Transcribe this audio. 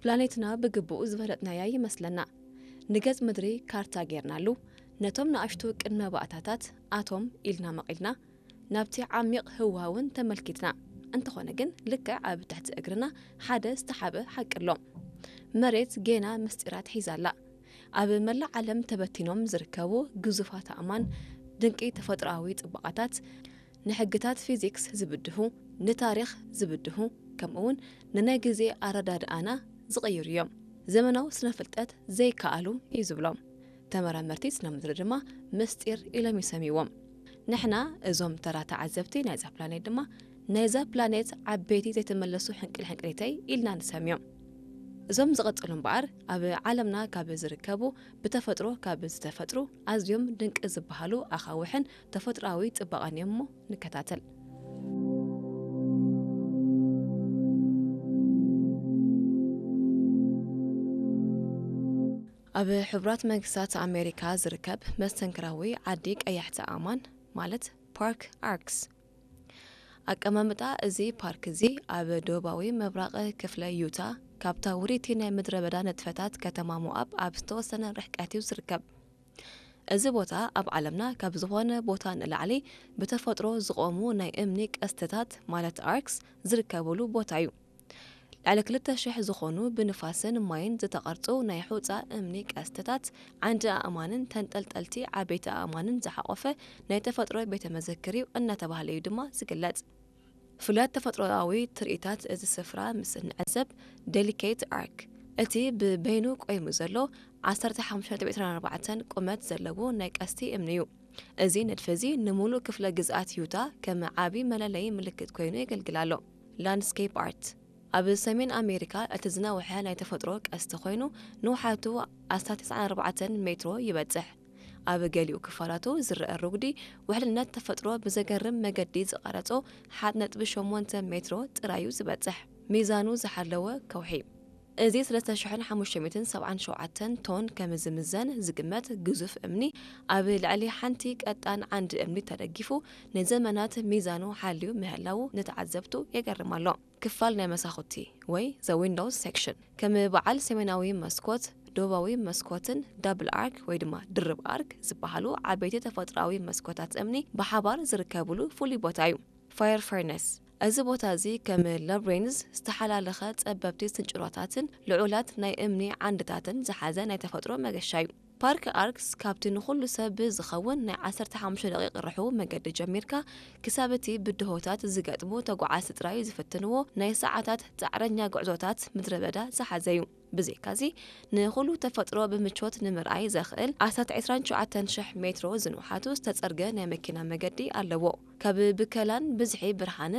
ፕላኔትና ብግቡእ ዝፈለጥናያ ይመስለና። ንገጽ ምድሪ ካርታ ጌርናሉ፣ ነቶም ንኣሽቱ ቅድመ ባእታታት ኣቶም ኢልና መቒልና፣ ናብቲ ዓሚቕ ህዋ እውን ተመልኪትና። እንተኾነ ግን፣ ልክዕ ኣብ ትሕቲ እግርና ሓደ ዝተሓበ ሓቂ ኣሎ። መሬት ጌና ምስጢራት ሒዛ ኣላ። ኣብ መላእ ዓለም ተበቲኖም ዝርከቡ ግዙፋት ኣእማን፣ ድንቂ ተፈጥሮኣዊ ጽባቐታት፣ ንሕግታት ፊዚክስ ዝብድሁ፣ ንታሪኽ ዝብድሁ፣ ከምኡውን ንናይ ግዜ ኣረዳድኣና ዝቕይሩ እዮም። ዘመናዊ ስነ ፍልጠት ዘይከኣሉ እዩ ዝብሎም። ተመራመርቲ ስነ ምድሪ ድማ ምስጢር ኢሎም ይሰምይዎም። ንሕና እዞም ተራ ተዓዘብቲ ናይዛ ፕላኔት ድማ ናይዛ ፕላኔት ዓበይቲ ዘይተመለሱ ሕንቅል ሕንቅሊተይ ኢልና ንሰምዮም። እዞም ዝቐጸሉ እምበኣር ኣብ ዓለምና ካብ ዝርከቡ ብተፈጥሮ ካብ ዝተፈጥሩ ኣዝዮም ድንቂ ዝበሃሉ ኣኻውሕን ተፈጥሮኣዊ ጽባቐን እዮም እሞ ንከታተል። ኣብ ሕቡራት መንግስታት ኣሜሪካ ዝርከብ መስተንክራዊ ዓዲ ቀያሕቲ ኣእማን ማለት ፓርክ ኣርክስ። ኣቀማምጣ እዚ ፓርክ እዚ ኣብ ደቡባዊ ምብራቕ ክፍለ ዩታ ካብታ ውሪቲ ናይ ምድረ በዳ ንጥፈታት ከተማ ሞኣብ ኣብ ዝተወሰነ ርሕቀት እዩ ዝርከብ። እዚ ቦታ ኣብ ዓለምና ካብ ዝኾነ ቦታ ንላዕሊ ብተፈጥሮ ዝቖሙ ናይ እምኒ ቀስትታት ማለት ኣርክስ ዝርከብሉ ቦታ እዩ። ልዕሊ ክልተ ሽሕ ዝኾኑ ብንፋስን ማይን ዝተቐርጹ ናይ ሑጻ እምኒ ቀስትታት፣ ዓንዲ ኣእማንን ተንጠልጠልቲ ዓበይቲ ኣእማንን ዝሓቖፈ ናይ ተፈጥሮ ቤተ መዘክር እዩ እናተባህለ እዩ ድማ ዝግለጽ። ፍሉያት ተፈጥሮኣዊ ትርኢታት እዚ ስፍራ ምስ እንዕዘብ፣ ዴሊኬት ኣርክ፣ እቲ ብበይኑ ቆይሙ ዘሎ ዓሰርተ ሓሙሽተ ነጥቢ ዕስራን ኣርባዕተን ቁመት ዘለዎ ናይ ቀስቲ እምኒ እዩ። እዚ ንድፊ እዚ ንምሉእ ክፍለ ግዝኣት ዩታ ከም ዓቢ መለለዪ ምልክት ኮይኑ የገልግል ኣሎ። ላንድስኬፕ ኣርት። ኣብ ሰሜን ኣሜሪካ እቲ ዝነውሐ ናይ ተፈጥሮ ቀስቲ ኮይኑ፣ ንውሓቱ ኣስታት ተስዓን ኣርባዕተን ሜትሮ ይበጽሕ። ኣብ ገሊኡ ክፋላቱ ዝረአ ርጉዲ ውሕልነት ተፈጥሮ ብዘገርም መገዲ ዝቐረጾ ሓደ ነጥቢ ሸሞንተ ሜትሮ ጥራዩ ዝበጽሕ ሚዛኑ ዝሓለወ ከውሒ። እዚ ሰለስተ ሽሕን ሓሙሽተ ሚእትን ሰብዓን ሸውዓተን ቶን ከም ዝምዘን ዝግመት ግዙፍ እምኒ፣ ኣብ ልዕሊ ሓንቲ ቀጣን ዓንዲ እምኒ ተደጊፉ ንዘመናት ሚዛኑ ሓልዩ ምህላዉ ንተዓዘብቱ የገርም ኣሎ። ክፋል ናይ መሳኹቲ ወይ the windows section፣ ከም በዓል ሰሜናዊ መስኮት፣ ደቡባዊ መስኮትን ዳብል ኣርክ ወይ ድማ ድርብ ኣርክ ዝበሃሉ ዓበይቲ ተፈጥሮኣዊ መስኮታት እምኒ ብሓባር ዝርከብሉ ፍሉይ ቦታ እዩ። ፋየር ፈርነስ። እዚ ቦታ እዚ ከም ላብሬንዝ ዝተሓላለኸ ጸበብቲ ስንጭሮታትን ልዑላት ናይ እምኒ ዓንድታትን ዝሓዘ ናይ ተፈጥሮ መገሻ እዩ። ፓርክ ኣርክስ ካብቲ ንኹሉ ሰብ ዝኸውን ናይ ዓሰርተ ሓሙሽተ ደቂቕ ርሕው መገዲ ጀሚርካ፣ ክሳብ እቲ ብድሆታት ዝገጥሙ ተጓዓዝቲ ጥራይ ዝፍትንዎ ናይ ሰዓታት ጻዕረኛ ጉዕዞታት ምድረ በዳ ዝሓዘ እዩ። ብዘይካዚ፣ ንኹሉ ተፈጥሮ ብምቾት ንምርኣይ ዘኽእል ኣስታት ዕስራን ትሽዓተን ሽሕ ሜትሮ ዝንውሓቱ ዝተጸርገ ናይ መኪና መገዲ ኣለዎ። ካብ ብከላን ብዝሒ ብርሃንን